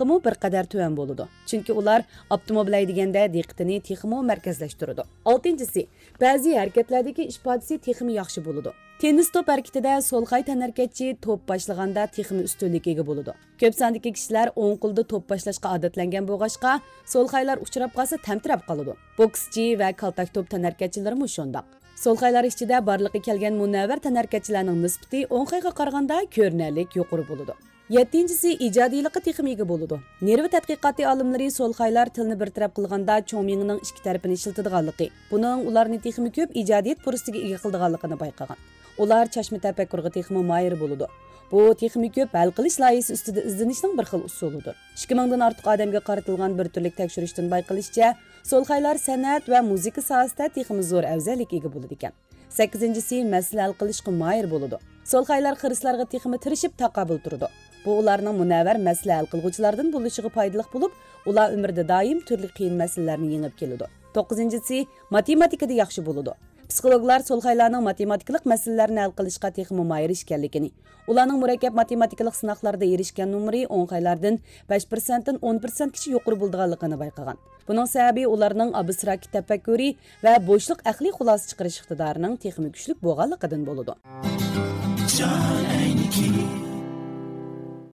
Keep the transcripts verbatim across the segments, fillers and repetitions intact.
ئېنىقلىقىمۇ بىر قەدەر تۆۋەن بولىدۇ. چۈنكى ئۇلار ئاپتوموبىل ھەيدىگەندە دىققىتىنى تېخىمۇ مەركەزلەشتۈرىدۇ. ئالتىنچىسى، بەزى ھەرىكەتلەردىكى ئىپادىسى تېخىمۇ ياخشى بولىدۇ. تېننىس توپ ھەرىكىتىدە سولخاي تەنھەرىكەتچى توپ باشلىغاندا تېخىمۇ ئۈستۈنلۈككە ئىگە بولىدۇ. كۆپ ساندىكى كىشىلەر ئوڭ قولدا توپ باشلاشقا ئادەتلەنگەن بولغاچقا، سولخايلار ئۇچراپ قالسا تەمتىرەپ قالىدۇ. بوكسچى ۋە كالتاك توپ تەنھەرىكەتچىلىرىمۇ شۇنداق. سولخايلار ئىچىدە بارلىققا كەلگەن مۇنەۋۋەر تەنھەرىكەتچىلەرنىڭ نىسبىتى ئوڭخايغا قارىغاندا كۆرۈنەرلىك يۇقىرى بولىدۇ. يەتتىنچىسى، ئىجادىيلىققا تېخىمۇ ئىگە بولىدۇ. نېرۋا تەتقىقاتى ئالىملىرى سولخايلار تىلنى بىر تەرەپ قىلغاندا چوڭ مېڭىنىڭ ئىككى تەرىپىنى ئىشلىتىدىغانلىقى، بۇنىڭ ئۇلارنى تېخىمۇ كۆپ ئىجادىيەت پۇرسىتىگە ئىگە قىلىدىغانلىقىنى بايقىغان. ئۇلار چاچما تەپەككۇرغا تېخىمۇ ماھىر بولىدۇ. بۇ تېخىمۇ كۆپ ھەل قىلىش لايىھىسى ئۈستىدە ئىزدىنىشنىڭ بىر خىل ئۇسۇلىدۇر. ئىككى مىڭدىن ئارتۇق ئادەمگە قارىتىلغان بىر تۈرلۈك تەكشۈرۈشتىن بايقىلىشىچە، سولخايلار سەنئەت ۋە مۇزىكا ساھەسىدە تېخىمۇ زور ئەۋزەللىككە ئىگە بولىدىكەن. سەككىزىنچىسى، مەسىلە ھەل قىلىشقا ماھىر بولىدۇ. سولخايلار خىرىسلارغا تېخىمۇ تىرىشىپ تاقابىل تۇرىدۇ. بۇ ئۇلارنىڭ مۇنەۋۋەر مەسىلە ھەل قىلغۇچىلاردىن بولۇشىغا پايدىلىق بولۇپ، ئۇلار ئۆمرىدە دائىم تۈرلۈك قىيىن مەسىلىلەرنى يېڭىپ كېلىدۇ. توققۇزىنچىسى، ماتېماتىكىدا ياخشى بولىدۇ. پسىخولوگلار سولخايلارنىڭ ماتېماتىكىلىق مەسىلىلەرنى ھەل قىلىشقا تېخىمۇ ماھىر ئىكەنلىكىنى، ئۇلارنىڭ مۇرەككەپ ماتېماتىكىلىق سىناقلاردا ئېرىشكەن نومۇرى ئوڭخايلاردىن بەش پىرسەنتتىن ئون پىرسەنتكىچە يۇقىرى بولىدىغانلىقىنى بايقىغان. بۇنىڭ سەۋەبى ئۇلارنىڭ ئابستراكت تەپەككۇرى ۋە بوشلۇق ئەقلىي خۇلاسە چىقىرىش ئىقتىدارىنىڭ تېخىمۇ كۈچلۈك بولغانلىقىدىن بولىدۇ.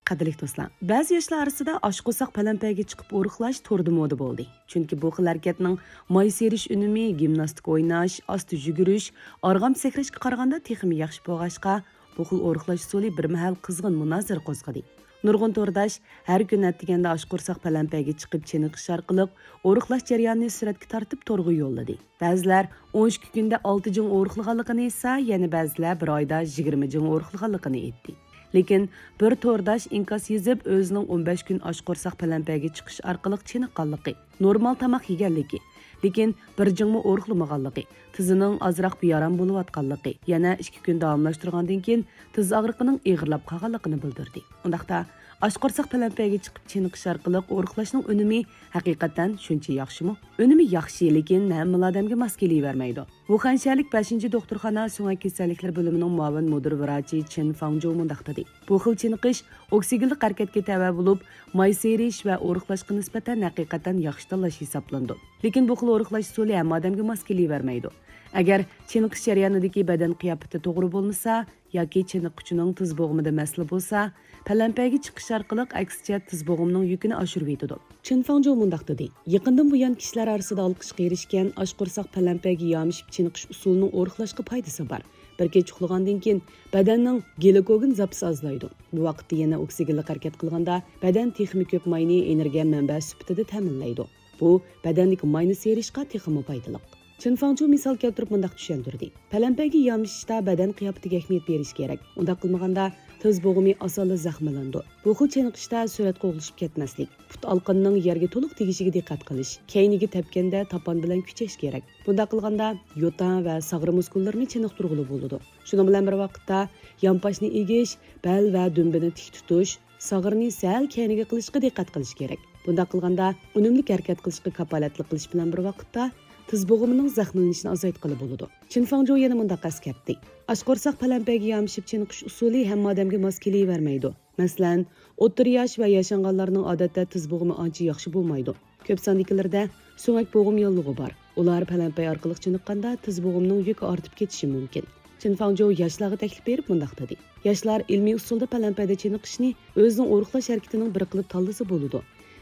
قەدىرلىك دوستلار، بەزى ياشلار ئارىسىدا ئاچ قورساق پەلەمپەيگە چىقىپ ئورۇقلاش توردا مودا بولدى. چۈنكى بۇ خىل ھەرىكەتنىڭ ماي سىيرىش ئۈنۈمى گىمناستىكا ئويناش، ئاستا يۈگۈرۈش، ئارغامچا سەكرەشكە قارىغاندا تېخىمۇ ياخشى بولغاچقا، بۇ خىل ئورۇقلاش ئۇسۇلى بىر مەھەل قىزغىن مۇنازىرە قوزغىدى. نۇرغۇن تورداش ھەر كۈنى ئەتىگەندە ئاچ قورساق پەلەمپەيگە چىقىپ چېنىقىش ئارقىلىق ئورۇقلاش جەريانىنى سۈرەتكە تارتىپ تورغا يوللىدى. بەزىلەر ئون ئىككى كۈندە ئالتە جىڭ ئورۇقلىغانلىقىنى ئېيتسا، يەنە بەزىلەر بىر ئايدا يىگىرمە جىڭ ئورۇقلىغانلىقىنى ئېيتتى. لېكىن بىر تورداش ئىنكاس يېزىپ، ئۆزىنىڭ ئون بەش كۈن ئاچ قورساق پەلەمپەيگە چىقىش ئارقىلىق چېنىققانلىقى، نورمال تاماق يېگەنلىكى، لېكىن بىر جىڭمۇ ئورۇقلىمىغانلىقى، تىزىنىڭ ئازراق بىئارام بولۇۋاتقانلىقى، يەنە ئىككى كۈن داۋاملاشتۇرغاندىن كېيىن تىز ئاغرىقىنىڭ ئېغىرلاپ قالغانلىقىنى بىلدۈردى. ئۇنداقتا، ئاچ قورساق پەلەمپەيگە چىقىپ چېنىقىش ئارقىلىق ئورۇقلاشنىڭ ئۈنۈمى ھەقىقەتەن شۇنچە ياخشىمۇ؟ ئۈنۈمى ياخشى، لېكىن ھەممىلا ئادەمگە ماس كېلىۋەرمەيدۇ. ۋۇخەن شەھەرلىك بەشىنچى دوختۇرخانا سۆڭەك كېسەللىكلىرى بۆلۈمىنىڭ مۇئاۋىن مۇدىر ۋراچى چېن فاڭجو مۇنداق دېدى: بۇ خىل چېنىقىش ئوكسىگېنلىق ھەرىكەتكە تەۋە بولۇپ، ماي سىيرىش ۋە ئورۇقلاشقا نىسبەتەن ھەقىقەتەن ياخشى تاللاش ھېسابلىنىدۇ. لېكىن بۇ خىل ئورۇقلاش ئۇسۇلى ھەممە ئادەمگە ماس كېلىۋەرمەيدۇ. ئەگەر چېنىقىش جەريانىدىكى بەدەن قىياپىتى توغرا بولمىسا ياكى چېنىققۇچىنىڭ تىز بوغۇمىدا مەسىلە بولسا، پەلەمپەيگە چىقىش ئارقىلىق ئەكسىچە تىز بوغۇمنىڭ يۈكىنى ئاشۇرۇۋېتىدۇ. چېن فاڭجو مۇنداق دېدى: يېقىندىن بۇيان كىشىلەر ئارىسىدا ئالقىشقا ئېرىشكەن ئاچ قورساق پەلەمپەيگە يامىشىپ چېنىقىش ئۇسۇلىنىڭ ئورۇقلاشقا پايدىسى بار. بىر كېچە ئۇخلىغاندىن كېيىن بەدەننىڭ گلىكوگېن زاپىسى ئازلايدۇ. بۇ ۋاقىتتا يەنە ئوكسىگېنلىق ھەرىكەت قىلغاندا بەدەن تېخىمۇ كۆپ ماينى ئېنېرگىيە مەنبەسى سۈپىتىدە تەمىنلەيدۇ. بۇ بەدەندىكى ماينى سىيرىشقا تېخىمۇ پايدىلىق. چېن فاڭجو مىسال كەلتۈرۈپ مۇنداق چۈشەندۈردى: پەلەمپەيگە يامىشىشتا بەدەن قىياپىتىگە ئەھمىيەت بېرىش كېرەك. ئۇنداق قىلمىغاندا، تىز بوغۇمى ئاسانلا زەخىملىنىدۇ. بۇ خىل چېنىقىشتا سۈرەتكە ئوغلىشىپ كەتمەسلىك، پۇت ئالقىنىنىڭ يەرگە تولۇق تېگىشىگە دىققەت قىلىش، كەينىگە تەپكەندە تاپان بىلەن كۈچەش كېرەك. بۇنداق قىلغاندا، يوتان ۋە ساغرا مۇسكۇللىرىنى چېنىقتۇرغىلى بولىدۇ. شۇنىڭ بىلەن بىر ۋاقىتتا، يانپاشنى ئېگىش، بەل ۋە دۈمبىنى تىك تۇتۇش، ساغرىنى سەل كەينىگە قىلىشقا دىققەت قىلىش كېرەك. بۇنداق قىلغاندا، ئۈنۈملۈك ھەرىكەت قىلىشقا كاپالەتلىك قىلىش بىلەن بىر ۋاقىتتا، تىز بوغۇمىنىڭ زەخىملىنىشىنى ئازايتقىلى بولىدۇ. چېن فاڭجو يەنە مۇنداق ئەسكەرتتى: ئاچ قورساق پەلەمپەيگە يامىشىپ چېنىقىش ئۇسۇلى ھەممە ئادەمگە ماس كېلىۋەرمەيدۇ. مەسىلەن، ئوتتۇرا ياش ۋە ياشانغانلارنىڭ ئادەتتە تىز بوغۇمى ئانچە ياخشى بولمايدۇ. كۆپ ساندىكىلىرىدە سۆڭەك بوغۇم ياللۇغى بار. ئۇلار پەلەمپەي ئارقىلىق چېنىققاندا تىز بوغۇمنىڭ يۈكى ئارتىپ كېتىشى مۇمكىن. چېن فاڭجو ياشلارغا تەكلىپ بېرىپ مۇنداق دېدى: ياشلار ئىلمىي ئۇسۇلدا پەلەمپەيدە چېنىقىشنى ئۆزىنىڭ ئورۇقلاش ھەرىكىتىنىڭ بىر قىلىپ تاللىسا بولىدۇ.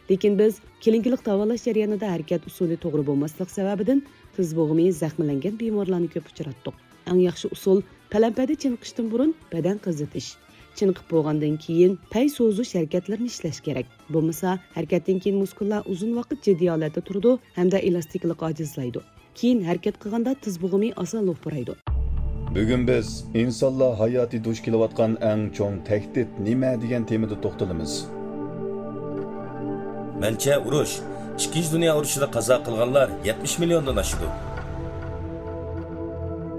لېكىن بىز كلىنىكىلىق داۋالاش جەريانىدا ھەرىكەت ئۇسۇلى توغرا بولماسلىق سەۋەبىدىن تىز بوغۇمى زەخىملەنگەن بىمارلارنى كۆپ ئۇچراتتۇق. ئەڭ ياخشى ئۇسۇل، پەلەمپەيدە چېنىقىشتىن بۇرۇن بەدەن قىزىتىش، چېنىقىپ بولغاندىن كېيىن پەي سوزۇش ھەرىكەتلىرىنى ئىشلەش كېرەك. بولمىسا، ھەرىكەتتىن كېيىن مۇسكۇللار ئۇزۇن ۋاقىت جىددىي ھالەتتە تۇرىدۇ ھەمدە ئېلاستىكىلىقى ئاجىزلايدۇ. كېيىن ھەرىكەت قىلغاندا تىز بوغۇمى ئاسان لوپۇرايدۇ. بۈگۈن بىز ئىنسانلار ھاياتى دۇچ كېلىۋاتقان ئەڭ چوڭ تەھدىت نېمە دېگەن تېمىدا توختىلىمىز. مەنچە، ئۇرۇش، ئىككىنچى دۇنيا ئۇرۇشىدا قازا قىلغانلار يەتمىش مىليوندىن ئاشىدۇ.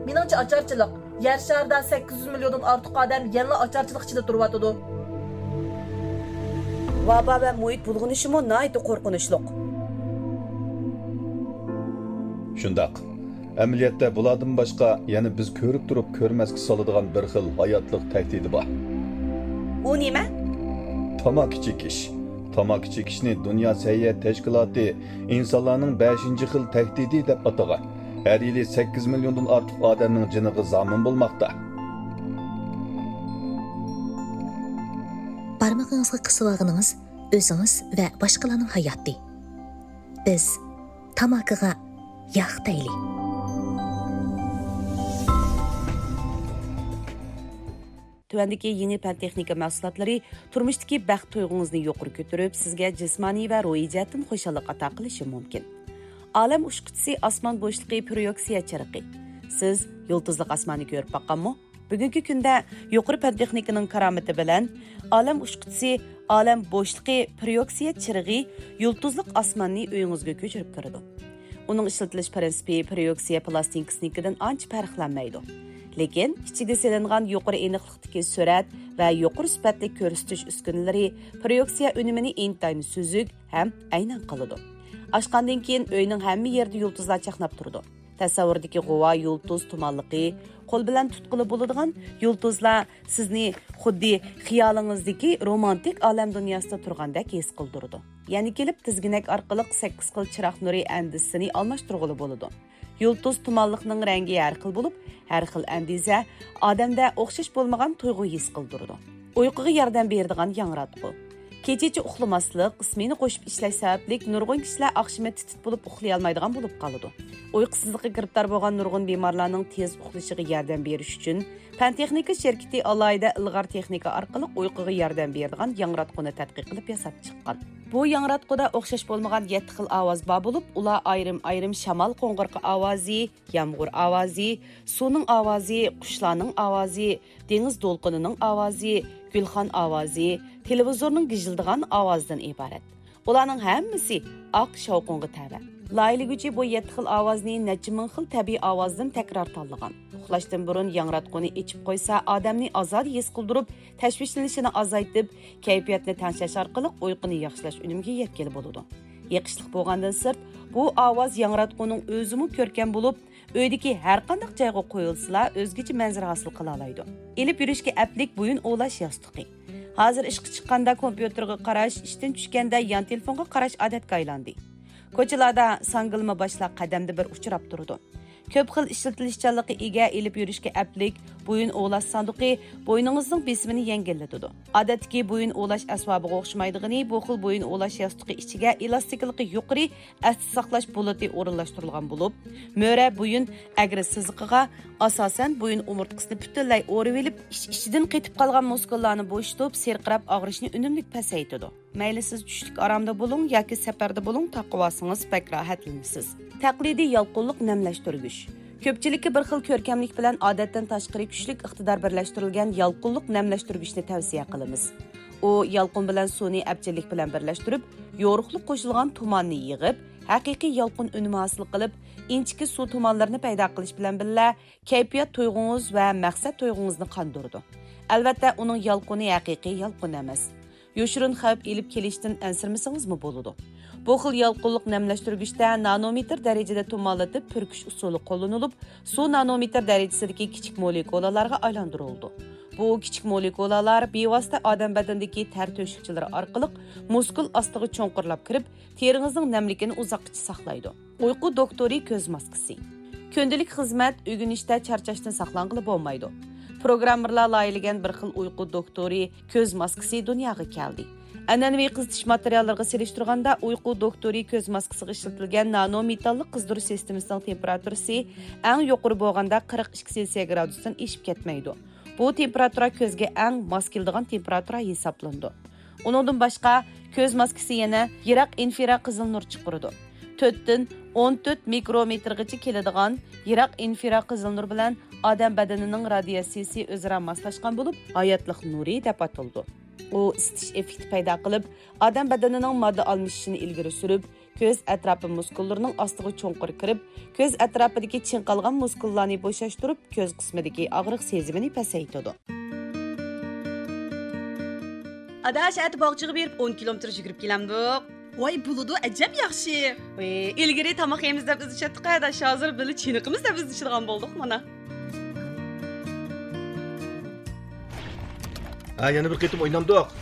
مېنىڭچە، ئاچارچىلىق. يەر شارىدا سەككىز يۈز مىليوندىن ئارتۇق ئادەم يەنىلا ئاچارچىلىق ئىچىدە تۇرۇۋاتىدۇ. ۋابا ۋە مۇھىت بۇلغىنىشىمۇ ناھايىتى قورقۇنچلۇق. شۇنداق. ئەمەلىيەتتە بۇلاردىن باشقا يەنە بىز كۆرۈپ تۇرۇپ كۆرمەسكە سالىدىغان بىر خىل ھاياتلىق تەھدىتى بار. ئۇ نېمە؟ تاماكا چېكىش. تاماكا چېكىشنى دۇنيا سەھىيە تەشكىلاتى ئىنسانلارنىڭ بەشىنچى خىل تەھدىتى دەپ ئاتىغان. ھەر يىلى سەككىز مىليوندىن ئارتۇق ئادەمنىڭ جېنىغا زامىن بولماقتا. بارمىقىڭىزغا قىسىۋالغىنىڭىز ئۆزىڭىز ۋە باشقىلارنىڭ ھاياتى. بىز تاماكىغا ياق دەيلى. تۆۋەندىكى يېڭى پەن تېخنىكا مەھسۇلاتلىرى تۇرمۇشتىكى بەخت تۇيغۇڭىزنى يۇقىرى كۆتۈرۈپ، سىزگە جىسمانىي ۋە روھىي جەھەتتىن خۇشاللىق ئاتا قىلىشى مۇمكىن. ئالەم ئۇچقۇچىسى ئاسمان بوشلۇقى پرويېكسىيە چىرىقى. سىز يۇلتۇزلۇق ئاسماننى كۆرۈپ باققانمۇ؟ بۈگۈنكى كۈندە يۇقىرى پەن تېخنىكىنىڭ كارامىتى بىلەن ئالەم ئۇچقۇچىسى، ئالەم بوشلۇقى پرويېكسىيە چىرىغى يۇلتۇزلۇق ئاسماننى ئۆيىڭىزگە كۆچۈرۈپ كىرىدۇ. ئۇنىڭ ئىشلىتىلىش پىرىنسىپى پرويېكسىيە پىلاستىنكىسىنىڭكىدىن ئانچە پەرقلەنمەيدۇ. لېكىن ئىچىدە سېلىنغان يۇقىرى ئېنىقلىقتىكى سۈرەت ۋە يۇقىرى سۈپەتلىك كۆرسىتىش ئۈسكۈنىلىرى پرويېكسىيە ئۈنۈمىنى ئىنتايىن سۈزۈك ھەم ئەينەن قىلىدۇ. ئاچقاندىن كېيىن ئۆينىڭ ھەممە يېرىدە يۇلتۇزلار چاقناپ تۇرىدۇ. تەسەۋۋۇردىكى غۇۋا يۇلتۇز تۇمانلىقى، قول بىلەن تۇتقىلى بولىدىغان يۇلتۇزلار سىزنى خۇددى خىيالىڭىزدىكى رومانتىك ئالەم دۇنياسىدا تۇرغاندەك ھېس قىلدۇرىدۇ. يەنە كېلىپ تىزگىنەك ئارقىلىق سەككىز خىل چىراغ نۇرى ئەندىزىسىنى ئالماشتۇرغىلى بولىدۇ. يۇلتۇز تۇمانلىقنىڭ رەڭگى ھەر خىل بولۇپ، ھەر خىل ئەندىزە ئادەمدە ئوخشاش بولمىغان تۇيغۇ ھېس قىلدۇرىدۇ. ئۇيقۇغا ياردەم بېرىدىغان ياڭراتقۇ. كېچىچە ئۇخلىماسلىق، سمېنا قوشۇپ ئىشلەش سەۋەبلىك نۇرغۇن كىشىلەر ئاخشىمى تېتىپ بولۇپ ئۇخلىيالمايدىغان بولۇپ قالىدۇ. ئۇيقۇسىزلىققا گىرىپتار بولغان نۇرغۇن بىمارلارنىڭ تېز ئۇخلىشىغا ياردەم بېرىش ئۈچۈن، پەن تېخنىكا شىركىتى ئالاھىدە ئىلغار تېخنىكا ئارقىلىق ئۇيقۇغا ياردەم بېرىدىغان ياڭراتقۇنى تەتقىق قىلىپ ياساپ چىققان. بۇ ياڭراتقۇدا ئوخشاش بولمىغان يەتتە خىل ئاۋاز بار بولۇپ، ئۇلار ئايرىم-ئايرىم شامال قوڭغۇرىقى ئاۋازى، يامغۇر ئاۋازى، سۇنىڭ ئاۋازى، قۇشلارنىڭ ئاۋازى، دېڭىز دولقۇنىنىڭ ئاۋازى، گۈلخان ئاۋازى، تېلېۋىزورنىڭ گىژىلدىغان ئاۋازىدىن ئىبارەت. ئۇلارنىڭ ھەممىسى ئاق شاۋقۇنغا تەۋە. لايىھىلىگۈچى بۇ يەتتە خىل ئاۋازنى نەچچە مىڭ خىل تەبىئىي ئاۋازدىن تەكرار تاللىغان. ئۇخلاشتىن بۇرۇن ياڭراتقۇنى ئېچىپ قويسا، ئادەمنى ئازادە ھېس قىلدۇرۇپ، تەشۋىشلىنىشىنى ئازايتىپ، كەيپىياتنى تەڭشەش ئارقىلىق ئۇيقۇنى ياخشىلاش ئۈنۈمىگە يەتكىلى بولىدۇ. يېقىشلىق بولغاندىن سىرت، بۇ ئاۋاز ياڭراتقۇنىڭ ئۆزىمۇ كۆركەم بولۇپ، ئۆيدىكى ھەرقانداق جايغا قويۇلسىلا، ئۆزگىچە مەنزىرە ھاسىل قىلالايدۇ. ئېلىپ يۈرۈشكە ئەپلىك بويۇن ئۇۋۇلاش ياستۇقى. ھازىر ئىشقا چىققاندا كومپيۇتېرغا قاراش، ئىشتىن چۈشكەندە يان تېلېفونغا قاراش ئادەتكە ئايلاندى. كوچىلاردا ساڭگىلىما باشلار قەدەمدە بىر ئۇچراپ تۇرىدۇ. كۆپ خىل ئىشلىتىلىشچانلىققا ئىگە، ئېلىپ يۈرۈشكە ئەپلىك بويۇن ئۇۋۇلاش ساندۇقى بوينىڭىزنىڭ بېسىمىنى يەڭگىللىتىدۇ. ئادەتتىكى بويۇن ئۇۋۇلاش ئەسۋابىغا ئوخشىمايدىغىنى، بۇ خىل بويۇن ئۇۋۇلاش ياستۇقى ئىچىگە ئېلاستىكىلىقى يۇقىرى ئەستە ساقلاش بولۇتى ئورۇنلاشتۇرۇلغان بولۇپ، مۈرە بويۇن ئەگرى سىزىقىغا، ئاساسەن، بويۇن ئومۇرتقىسىنى پۈتۈنلەي ئورىۋېلىپ، ئىچ-ئىچىدىن قېتىپ قالغان مۇسكۇللارنى بوشىتىپ، سىرقىراپ ئاغرىشنى ئۈنۈملۈك پەسەيتىدۇ. مەيلى سىز چۈشلۈك ئارامدا بولۇڭ ياكى سەپەردە بولۇڭ، تاقىۋالسىڭىز بەك راھەتلىنىسىز. تەقلىدىي يالقۇنلۇق نەملەشتۈرگۈچ. كۆپچىلىككە بىر خىل كۆركەملىك بىلەن ئادەتتىن تاشقىرى كۈچلۈك ئىقتىدار بىرلەشتۈرۈلگەن يالقۇنلۇق نەملەشتۈرگۈچنى تەۋسىيە قىلىمىز. ئۇ يالقۇن بىلەن سۇنى ئەپچىللىك بىلەن بىرلەشتۈرۈپ، يورۇقلۇق قوشۇلغان تۇماننى يىغىپ، ھەقىقىي يالقۇن ئۈنۈمى ھاسىل قىلىپ، ئىنچىكە سۇ تۇمانلىرىنى پەيدا قىلىش بىلەن بىللە، كەيپىيات تۇيغۇڭىز ۋە مەقسەت تۇيغۇڭىزنى قاندۇرىدۇ. ئەلۋەتتە، ئۇنىڭ يالقۇنى ھەقىقىي يالقۇن ئەمەس. يوشۇرۇن خەۋپ ئېلىپ كېلىشتىن ئەنسىرىمىسىڭىزمۇ بولىدۇ. بۇ خىل يالقۇنلۇق نەملەشتۈرگۈچتە نانومېتىر دەرىجىدە تۇمانلىتىپ پۈركۈش ئۇسۇلى قوللىنىلىپ، سۇ نانومېتىر دەرىجىسىدىكى كىچىك مولېكۇلالارغا ئايلاندۇرۇلىدۇ. بۇ كىچىك مولېكۇلالار بىۋاسىتە ئادەم بەدىنىدىكى تەر تۆشۈكچىلىرى ئارقىلىق مۇسكۇل ئاستىغا چوڭقۇرلاپ كىرىپ، تېرىڭىزنىڭ نەملىكىنى ئۇزاققىچە ساقلايدۇ. ئۇيقۇ دوختۇرى كۆز ماسكىسى. كۈندىلىك خىزمەت، ئۆگىنىشتە چارچاشتىن ساقلانغىلى بولمايدۇ. پروگراممېرلار لايىھىلىگەن بىر خىل ئۇيقۇ دوختۇرى كۆز ماسكىسى دۇنياغا كەلدى. ئەنئەنىۋى قىزىتىش ماتېرىياللىرىغا سېلىشتۇرغاندا، ئۇيقۇ دوختۇرى كۆز ماسكىسىغا ئىشلىتىلگەن نانومېتاللىق قىزدۇرۇش سىستېمىسىنىڭ تېمپېراتۇرىسى ئەڭ يۇقىرى بولغاندا قىرىق ئىككى سېلسىيە گرادۇستىن ئېشىپ كەتمەيدۇ. بۇ تېمپېراتۇرا كۆزگە ئەڭ ماس كېلىدىغان تېمپېراتۇرا ھېسابلىنىدۇ. ئۇنىڭدىن باشقا، كۆز ماسكىسى يەنە يىراق ئىنفرا قىزىل نۇر چىقىرىدۇ. تۆتتىن ئون تۆت مىكرومېتىرغىچە كېلىدىغان يىراق ئىنفرا قىزىل نۇر بىلەن ئادەم بەدىنىنىڭ رادىياتسىيىسى ئۆزئارا ماسلاشقان بولۇپ، ھاياتلىق نۇرى دەپ ئاتىلىدۇ. ئۇ ئىسىتىش ئېففېكتى پەيدا قىلىپ، ئادەم بەدىنىنىڭ ماددا ئالمىشىشىنى ئىلگىرى سۈرۈپ، كۆز ئەتراپى مۇسكۇللىرىنىڭ ئاستىغا چوڭقۇر كىرىپ، كۆز ئەتراپىدىكى چىڭقالغان مۇسكۇللارنى بوشاشتۇرۇپ، كۆز قىسمىدىكى ئاغرىق سېزىمىنى پەسەيتىدۇ. ئاداش، ئەتە باغچىغا بېرىپ ئون كىلومېتىر يۈگۈرۈپ كېلەمدۇق؟ ۋاي، بولىدۇ، ئەجەب ياخشى. ۋاي، ئىلگىرى تاماق يەيمىز دەپ ئىزدىشەتتۇق، ئاداش، ھازىر بىللە چېنىقىمىز دەپ ئىزدىشىدىغان بولدۇق مانا. ھە، يەنە بىر قېتىم ئوينامدۇق؟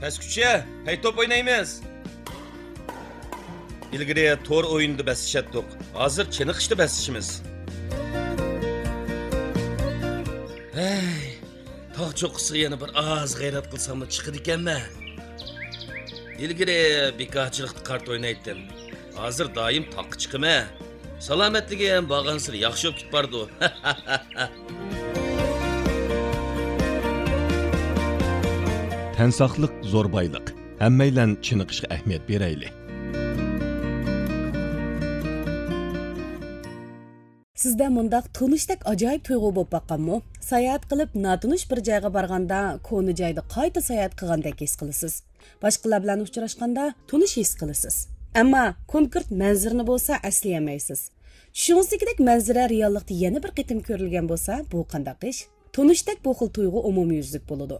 پەسكۈچە، پەي توپ ئوينايمىز. ئىلگىرى تور ئويۇنىدا بەسلىشەتتۇق. ھازىر چېنىقىشتا بەسلىشىمىز. ھەي، تاغ چوققىسىغا يەنە بىر ئاز غەيرەت قىلساممۇ چىقىدىكەنمەن. ئىلگىرى بىكارچىلىقتا قارت ئوينايتتىم. ھازىر دائىم تاغقا چىقىمەن. سالامەتلىكىم بارغانسېرى ياخشى بولۇپ كېتىپ بارىدۇ. تەن ساقلىق زور بايلىق. ھەممەيلەن چېنىقىشقا ئەھمىيەت بېرەيلى. سىزدە مۇنداق تونۇشتەك ئاجايىپ تۇيغۇ بولۇپ باققانمۇ؟ ساياھەت قىلىپ، ناتونۇش بىر جايغا بارغاندا، كونا جايدا قايتا ساياھەت قىلغاندەك ھېس قىلىسىز. باشقىلار بىلەن ئۇچراشقاندا تونۇش ھېس قىلىسىز. ئەمما كونكرېت مەنزىرىنى بولسا ئەسلىيەلمەيسىز. چۈشىڭىزدىكىدەك مەنزىرە رېئاللىقتا يەنە بىر قېتىم كۆرۈلگەن بولسا، بۇ قانداق ئىش؟ تونۇشتەك بۇ خىل تۇيغۇ ئومۇميۈزلۈك بولىدۇ.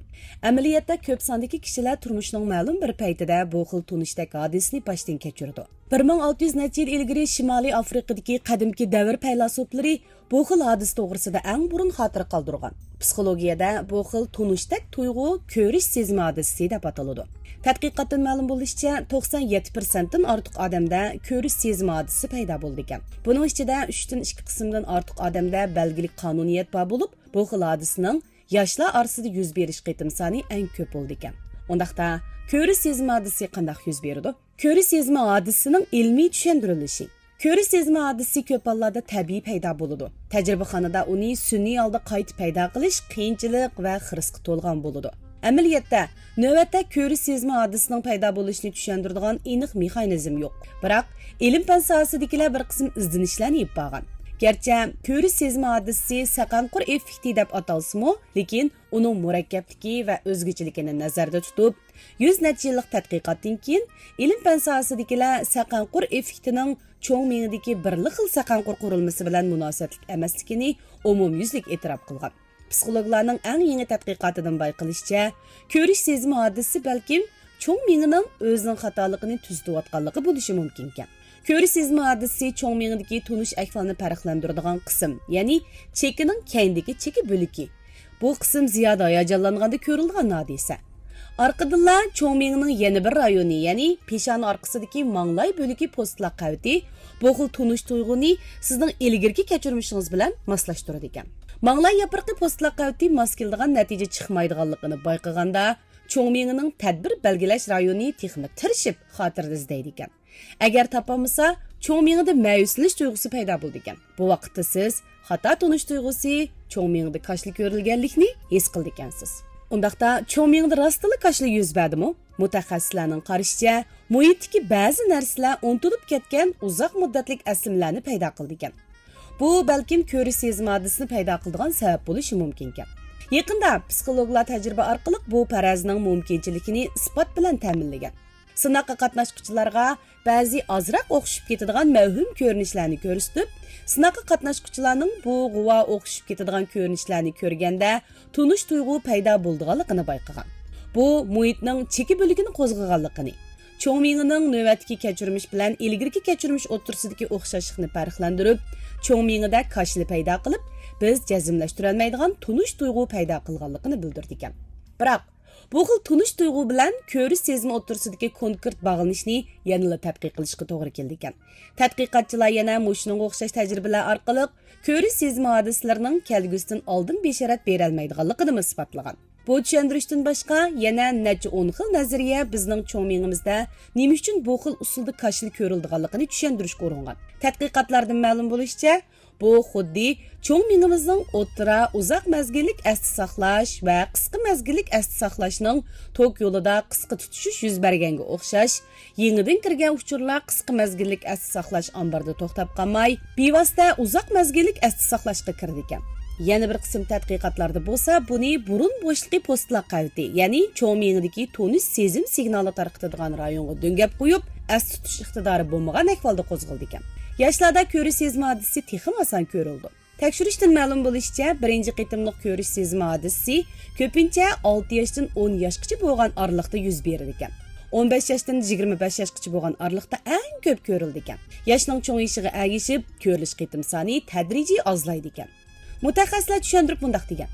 ئەمەلىيەتتە كۆپ ساندىكى كىشىلەر تۇرمۇشىنىڭ مەلۇم بىر پەيتىدە بۇ خىل تونۇشتەك ھادىسىنى باشتىن كەچۈرىدۇ. بىر مىڭ ئالتە يۈز نەچچە يىل ئىلگىرى شىمالىي ئافرىقىدىكى قەدىمكى دەۋر پەيلاسوپلىرى بۇ خىل ھادىسە توغرىسىدا ئەڭ بۇرۇن خاتىرە قالدۇرغان. پسىخولوگىيەدە بۇ خىل تونۇشتەك تۇيغۇ كۆرۈش سېزىمى ھادىسىسى دەپ ئاتىلىدۇ. تەتقىقاتتىن مەلۇم بولۇشىچە، توقسان يەتتە پىرسەنتتىن ئارتۇق ئادەمدە كۆرۈش سېزىمى ھادىسىسى پەيدا بولىدىكەن. بۇنىڭ ئىچىدە ئۈچتىن ئىككى قىسىمدىن ئارتۇق ئادەمدە بەلگىلىك قانۇنىيەت بار بولۇپ، بۇ خىل ھادىسىنىڭ ياشلار ئارىسىدا يۈز بېرىش قېتىم سانى ئەڭ كۆپ بولىدىكەن. ئۇنداقتا، كۆرۈش سېزىمى ھادىسىسى قانداق يۈز بېرىدۇ؟ كۆرۈش سېزىمى ھادىسىسىنىڭ ئىلمىي چۈشەندۈرۈلۈشى. كۆرۈش سېزىمى ھادىسىسى كۆپ ھاللاردا تەبىئىي پەيدا بولىدۇ. تەجرىبىخانىدا ئۇنى سۈنئىي ھالدا قايتا پەيدا قىلىش قىيىنچىلىق ۋە خىرىسقا تولغان بولىدۇ. ئەمەلىيەتتە، نۆۋەتتە كۆرۈش سېزىمى ھادىسىسىنىڭ پەيدا بولۇشىنى چۈشەندۈرىدىغان ئېنىق مېخانىزم يوق. بىراق، ئىلىم-پەن ساھەسىدىكىلەر بىر قىسىم ئىزدىنىشلەرنى ئېلىپ بارغان. گەرچە كۆرۈش سېزىمى ھادىسىسى سەقەنقۇر ئېففېكتى دەپ ئاتالسىمۇ، لېكىن ئۇنىڭ مۇرەككەپلىكى ۋە ئۆزگىچىلىكىنى نەزەردە تۇتۇپ، يۈز نەچچە يىللىق تەتقىقاتتىن كېيىن، ئىلىم-پەن ساھەسىدىكىلەر سەقەنقۇر ئېففېكتىنىڭ چوڭ مېڭىدىكى بىرلا خىل سەقەنقۇر قۇرۇلمىسى بىلەن مۇناسىۋەتلىك ئەمەسلىكىنى ئومۇميۈزلۈك ئېتىراپ قىلغان. پسىخولوگلارنىڭ ئەڭ يېڭى تەتقىقاتىدىن بايقىلىشىچە، كۆرۈش سېزىمى ھادىسىسى بەلكىم چوڭ مېڭىنىڭ ئۆزىنىڭ خاتالىقىنى تۈزىتىۋاتقانلىقى بولۇشى مۇمكىنكەن. كۆرۈش سېزىمى ھادىسىسى چوڭ مېڭىدىكى تونۇش ئەھۋالنى پەرقلەندۈرىدىغان قىسىم، يەنى چېكىنىڭ كەينىدىكى چېكە بۆلىكى. بۇ قىسىم زىيادە ھاياجانلانغاندا كۆرۈلىدىغان ھادىسە. ئارقىدىنلا چوڭ مېڭىنىڭ يەنە بىر رايونى، يەنى پېشانە ئارقىسىدىكى ماڭلاي بۆلىكى پوستلاق قەۋىتى بۇ خىل تونۇش تۇيغۇنى سىزنىڭ ئىلگىرىكى كەچۈرمىشىڭىز بىلەن ماسلاشتۇرىدىكەن. ماڭلاي ياپرىقى پوستلاق قەۋىتى ماس كېلىدىغان نەتىجە چىقمايدىغانلىقىنى بايقىغاندا، چوڭ مېڭىنىڭ تەدبىر بەلگىلەش رايونى تېخىمۇ تىرىشىپ خاتىرىدە ئىزدەيدىكەن. ئەگەر تاپالمىسا، چوڭ مېڭىدە مەيۈسلىنىش تۇيغۇسى پەيدا بولىدىكەن. بۇ ۋاقىتتا سىز خاتا تونۇش تۇيغۇسى، چوڭ مېڭىدە كاشىلا كۆرۈلگەنلىكنى ھېس قىلىدىكەنسىز. ئۇنداقتا، چوڭ مېڭىدە راستتىنلا كاشىلا يۈز بەردىمۇ؟ مۇتەخەسسىسلەرنىڭ قارىشىچە، مۇھىتتىكى بەزى نەرسىلەر ئۇنتۇلۇپ كەتكەن ئۇزاق مۇددەتلىك ئەسلىمىلەرنى پەيدا قىلىدىكەن. بۇ بەلكىم كۆرۈش سېزىم ھادىسىسىنى پەيدا قىلىدىغان سەۋەب بولۇشى مۇمكىنكەن. يېقىندا پسىخولوگلار تەجرىبە ئارقىلىق بۇ پەرەزنىڭ مۇمكىنچىلىكىنى ئىسپات بىلەن تەمىنلىگەن. سىناققا قاتناشقۇچىلارغا بەزى ئازراق ئوخشىشىپ كېتىدىغان مەۋھۇم كۆرۈنۈشلەرنى كۆرسىتىپ، سىناققا قاتناشقۇچىلارنىڭ بۇ غۇۋا ئوخشىشىپ كېتىدىغان كۆرۈنۈشلەرنى كۆرگەندە تونۇش تۇيغۇ پەيدا بولىدىغانلىقىنى بايقىغان. بۇ مۇھىتنىڭ چېكە بۆلىكىنى قوزغىغانلىقىنى، چوڭ مېڭىنىڭ نۆۋەتتىكى كەچۈرمىش بىلەن ئىلگىرىكى كەچۈرمىش ئوتتۇرىسىدىكى ئوخشاشلىقنى پەرقلەندۈرۈپ، چوڭ مېڭىدە كاشىلا پەيدا قىلىپ، بىز جەزملەشتۈرەلمەيدىغان تونۇش تۇيغۇ پەيدا قىلغانلىقىنى بىلدۈرىدىكەن. بىراق، بۇ خىل تونۇش تۇيغۇ بىلەن كۆرۈش سېزىمى ئوتتۇرىسىدىكى كونكرېت باغلىنىشنى يەنىلا تەتقىق قىلىشقا توغرا كېلىدىكەن. تەتقىقاتچىلار يەنە مۇشۇنىڭغا ئوخشاش تەجرىبىلەر ئارقىلىق كۆرۈش سېزىمى ھادىسىلىرىنىڭ كەلگۈسىدىن ئالدىن بېشارەت بېرەلمەيدىغانلىقىنىمۇ ئىسپاتلىغان. بۇ چۈشەندۈرۈشتىن باشقا، يەنە نەچچە ئون خىل نەزەرىيە بىزنىڭ چوڭ مېڭىمىزدە نېمە ئۈچۈن بۇ خىل ئۇسۇلدا كاشىلا كۆرۈلىدىغانلىقىنى چۈشەندۈرۈشكە ئۇرۇنغان. تەتقىقاتلاردىن مەلۇم بولۇشىچە، بۇ خۇددى چوڭ مېڭىمىزنىڭ ئوتتۇرا، ئۇزاق مەزگىللىك ئەستە ساقلاش ۋە قىسقا مەزگىللىك ئەستە ساقلاشنىڭ توك يولىدا قىسقا تۇتىشىش يۈز بەرگەنگە ئوخشاش، يېڭىدىن كىرگەن ئۇچۇرلار قىسقا مەزگىللىك ئەستە ساقلاش ئامبىرىدا توختاپ قالماي، بىۋاسىتە ئۇزاق مەزگىللىك ئەستە ساقلاشقا كىرىدىكەن. يەنە بىر قىسىم تەتقىقاتلاردا بولسا بۇنى بۇرۇن بوشلۇقى پوستلاق قەۋىتى، يەنى چوڭ مېڭىدىكى تونۇش سېزىم سىگنالى تارقىتىدىغان رايونغا دۆڭگەپ قويۇپ، ئەستە تۇتۇش ئىقتىدارى بولمىغان ئەھۋالدا قوزغىلىدىكەن. ياشلاردا كۆرۈش سېزىم ھادىسىسى تېخىمۇ ئاسان كۆرۈلىدۇ. تەكشۈرۈشتىن مەلۇم بولۇشىچە، بىرىنچى قېتىملىق كۆرۈش سېزىمى ھادىسىسى كۆپىنچە ئالتە ياشتىن ئون ياشقىچە بولغان ئارىلىقتا يۈز بېرىدىكەن. ئون بەش ياشتىن يىگىرمە بەش ياشقىچە بولغان ئارىلىقتا ئەڭ كۆپ كۆرۈلىدىكەن. ياشنىڭ چوڭىيىشىغا ئەگىشىپ، كۆرۈلۈش قېتىم سانى تەدرىجىي ئازلايدىكەن. مۇتەخەسسىسلەر چۈشەندۈرۈپ مۇنداق دېگەن: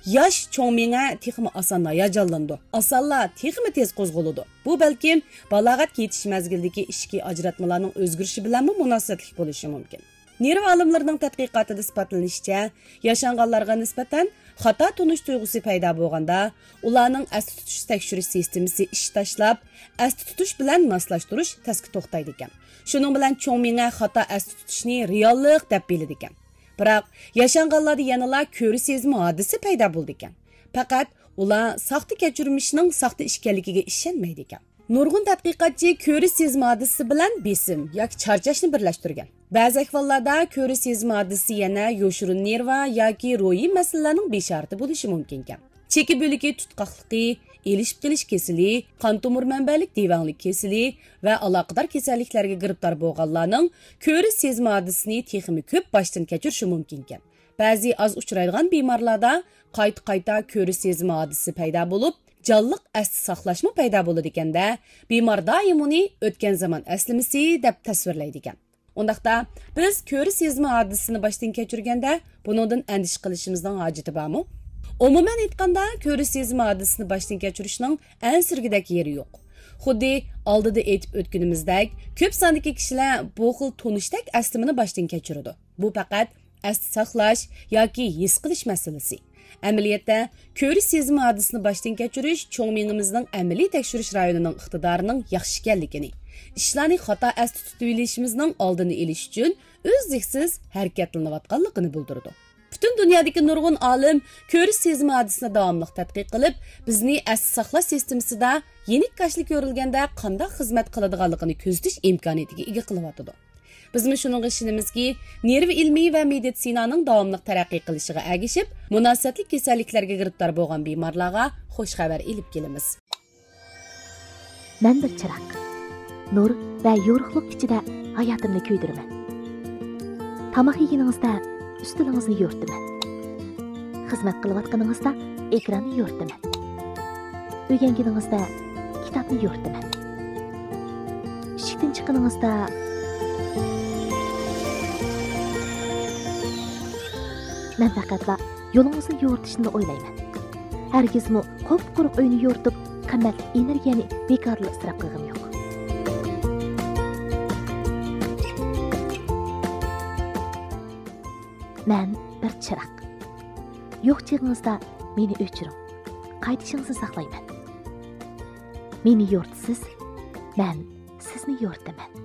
ياش چوڭ مېڭە تېخىمۇ ئاسان ھاياجانلىنىدۇ، ئاسانلا تېخىمۇ تېز قوزغىلىدۇ. بۇ بەلكىم بالاغەت يېتىش مەزگىلىدىكى ئىچكى ئاجراتمىلارنىڭ ئۆزگىرىشى بىلەنمۇ مۇناسىۋەتلىك بولۇشى مۇمكىن. نېرۋا ئالىملىرىنىڭ تەتقىقاتىدا ئىسپاتلىنىشىچە، ياشانغانلارغا نىسبەتەن خاتا تونۇش تۇيغۇسى پەيدا بولغاندا، ئۇلارنىڭ ئەستە تۇتۇش تەكشۈرۈش سىستېمىسى ئىش تاشلاپ، ئەستە تۇتۇش بىلەن ماسلاشتۇرۇش تەسكە توختايدىكەن. شۇنىڭ بىلەن چوڭ مېڭە خاتا ئەستە تۇتۇشنى رېئاللىق دەپ بىلىدىكەن. بىراق، ياشانغانلاردا يەنىلا كۆرە سېزىمى ھادىسىسى پەيدا بولىدىكەن. پەقەت ئۇلار ساختا كەچۈرمىشنىڭ ساختا ئىكەنلىكىگە ئىشەنمەيدىكەن. نۇرغۇن تەتقىقاتچى كۆرە سېزىمى ھادىسىسى بىلەن بېسىم ياكى چارچاشنى بىرلەشتۈرگەن. بەزى ئەھۋاللاردا كۆرە سېزىمى ھادىسىسى يەنە يوشۇرۇن نېرۋا ياكى روھىي مەسىلىلەرنىڭ بېشارىتى بولۇشى مۇمكىنكەن. چېكە بۆلىكى تۇتقاقلىقى، ئېلىشىپ قېلىش كېسىلى، قان تومۇر مەنبەلىك دېۋەڭلىك كېسىلى ۋە ئالاقىدار كېسەللىكلەرگە گىرىپتار بولغانلارنىڭ كۆرە سېزىمى ھادىسىسىنى تېخىمۇ كۆپ باشتىن كەچۈرۈشى مۇمكىنكەن. بەزى ئاز ئۇچرايدىغان بىمارلاردا قايتا-قايتا كۆرە سېزىمى ھادىسىسى پەيدا بولۇپ، جانلىق ئەستە ساقلاشمۇ پەيدا بولىدىكەن-دە، بىمار دائىم ئۇنى ئۆتكەن زامان ئەسلىمىسى دەپ تەسۋىرلەيدىكەن. ئۇنداقتا، بىز كۆرە سېزىمى ھادىسىسىنى باشتىن كەچۈرگەندە، بۇنىڭدىن ئەندىشە قىلىشىمىزنىڭ ھاجىتى بارمۇ؟ ئومۇمەن ئېيتقاندا، كۆرە سېزىمى ھادىسىسىنى باشتىن كەچۈرۈشنىڭ ئەنسىرىگۈدەك يېرى يوق. خۇددى ئالدىدا ئېيتىپ ئۆتكىنىمىزدەك، كۆپ ساندىكى كىشىلەر بۇ خىل تونۇشتەك ئەسلىمىنى باشتىن كەچۈرىدۇ. بۇ پەقەت ئەستە ساقلاش ياكى ھېس قىلىش مەسىلىسى. ئەمەلىيەتتە، كۆرە سېزىمى ھادىسىسىنى باشتىن كەچۈرۈش چوڭ مېڭىمىزنىڭ ئەمەلىي تەكشۈرۈش رايونىنىڭ ئىقتىدارىنىڭ ياخشى ئىكەنلىكىنى، ئىشلارنى خاتا ئەستە تۇتۇۋېلىشىمىزنىڭ ئالدىنى ئېلىش ئۈچۈن ئۈزلۈكسىز ھەرىكەتلىنىۋاتقانلىقىنى بىلدۈرىدۇ. پۈتۈن دۇنيادىكى نۇرغۇن ئالىم كۆرە سېزىمى ھادىسىسىنى داۋاملىق تەتقىق قىلىپ، بىزنى ئەستە ساقلاش سىستېمىسىدا يېنىك كاشىلا كۆرۈلگەندە قانداق خىزمەت قىلىدىغانلىقىنى كۆزىتىش ئىمكانىيىتىگە ئىگە قىلىۋاتىدۇ. بىزمۇ شۇنىڭغا ئىشىنىمىزكى، نېرۋا ئىلمى ۋە مېدىتسىنانىڭ داۋاملىق تەرەققىي قىلىشىغا ئەگىشىپ، مۇناسىۋەتلىك كېسەللىكلەرگە گىرىپتار بولغان بىمارلارغا خۇش خەۋەر ئېلىپ كېلىمىز. مەن بىر چىراغ. نۇر ۋە يورۇقلۇق ئىچىدە ھاياتىمنى كۆيدۈرىمەن. تاماق يېگىنىڭىزدە ئۈستىلىڭىزنى يورۇتىمەن. خىزمەت قىلىۋاتقىنىڭىزدا ئېكراننى يورۇتىمەن. ئۆگەنگىنىڭىزدە كىتابنى يورۇتىمەن. ئىشىكتىن چىققىنىڭىزدا مەن پەقەتلا يولىڭىزنى يورۇتۇشنىلا ئويلايمەن. ھەرگىزمۇ قۇپقۇرۇق ئۆينى يورۇتۇپ، قىممەتلىك ئېنېرگىيەنى بىكارلا ئىسراپ قىلغىنىم يوق. مەن بىر چىراغ. يوق چېغىڭىزدا مېنى ئۆچۈرۈڭ. قايتىشىڭىزنى ساقلايمەن. مېنى يورۇتىسىز، مەن سىزنى يورۇتىمەن.